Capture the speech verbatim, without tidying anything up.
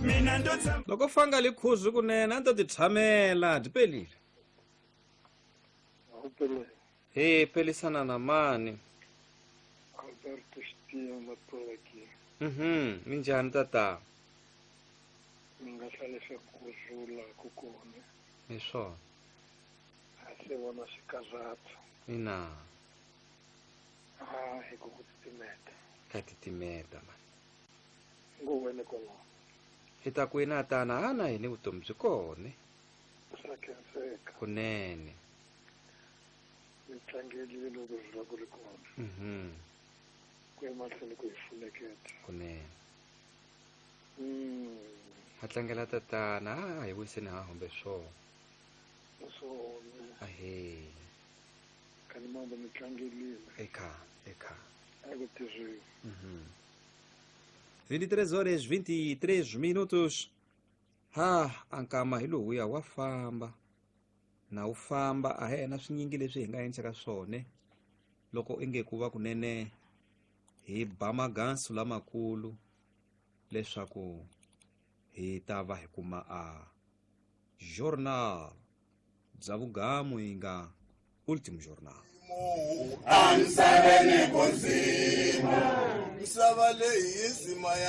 Mina ndo tshama. Loko fanga likhuzu kunene a ni to ti tshamela byi pelile. Awupele. He pelisana na mani? Alberto Xitiya Matola ki. Mhm, minjhani tata? Mi nga hlalisa ku rhula ku kona. Hi swona. A se vona xikarhato. Ina. A hi ku ku titimeta. Ka titimeta mani. Ngo wena kwalaho. Hi ta ku ina tana ana hini vutomi byi kona. Swa khenseka. Kunene. Mi tlangelile loko rhula ku ri kona. Mhm. Ku ya mahlweni ku hi funeketa. Kunene. Mm. Ha tlangela tatana, a hi wiseni ha humbe swona. Swona. Ahee. Kani mambo mi tlangelile. Eka, eka. A ku tirhiwi. Mhm. vinte e três horas vinte e três minutos. Ha, ankama hi lowuya wa famba. Na wu famba a hi na swinyingi leswi hi nga endlaka swona. Loko inge ku va kunene hi ba magansu lamakulu leswaku hi ta va hi kuma a journal bya vugamu yi nga Último Jornal. Amisaveni ku nzima. Misava leyi yi nzima ya